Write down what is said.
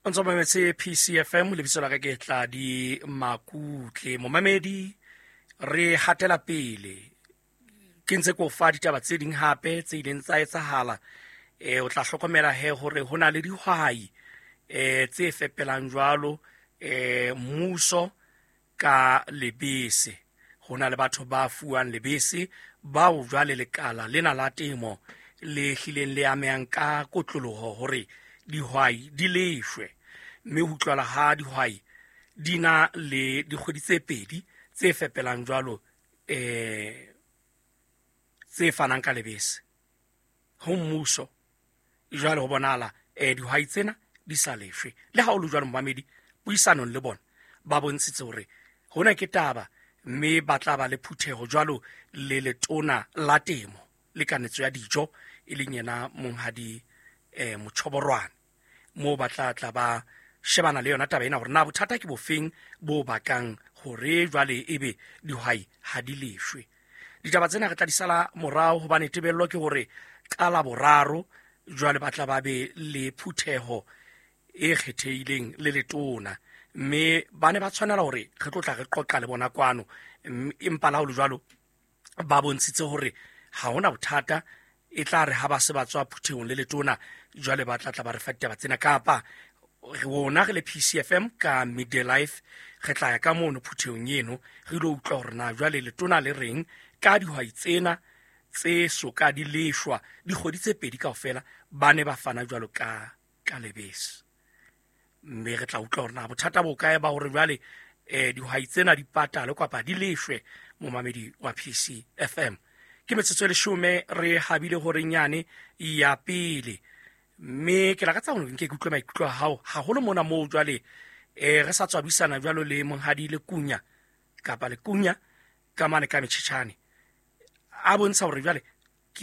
O ntso mametse PCFM, lebitso la ka ke Tladi Makutle. Momamedi, re hatela pele, ke ntse ko fa ditaba tse ding hape tse ileng tsa etsahala. O tla hlokomela he hore ho na le dihwai tse fepelang jwalo mmuso ka lebese. Ho na le batho ba fuwang lebese bao jwale lekala lena la temo le hlileng le amehang ka kotloloho hore dihwai di leshwe, mme ho utlwala ha dihwai di na le dikgwedi tse pedi tse fepelang jwalo tse fanang ka lebese ho mmuso. Jwale ho bonahala dihwai tsena di sa leshwe. Le ha o le jwalo, momamedi, puisanong le bona ba bontshitse hore hona ke taba, mme ba tla ba le phutheho jwalo le letona la temo le kanetso ya dijo, e leng yena monghadi Mochoborwane, moo ba tla tla ba shebana le yona taba ena hore na bothata ke bofeng bo bakang hore jwale ebe dihwai ha di leshwe. Ditaba tsena re tla di sala morao, hobane tebello ke hore ka la boraro jwale ba tla ba be le phutheho e kgethehileng le letona, mme ba ne ba tshwanela hore re tlo tla re qoqa le bona kwano, empa la ho le jwalo ba bontshitse hore ha hona bothata, e tla re ha ba se ba tswa phuthehong le letona jwale ba tla tla ba re fa ditaba tsena, kapa rona re le PCFM ka Midday Life re tla ya ka mono phuthehong eno re ilo utlwa hore na jwale letona le reng ka dihwai tsena tse soka di leshwa dikgwedi tse pedi kaofela ba ne ba fana jwalo ka lebese. Mme re tla utlwa hore na bothata bo kae ba hore jwale dihwai tsena di patale kapa di leshwe. Momamedi wa PCFM, ke metsotso e 10 re habile hore nyane ya pele, mme ke lakatsa hore nke ke utlwe maikutlo a hao haholo mona moo jwale re sa tswa buisana jwalo le monghadi Lekunya kapa Lekunya ka mane ka Metjhetjhane, a bontsha hore jwale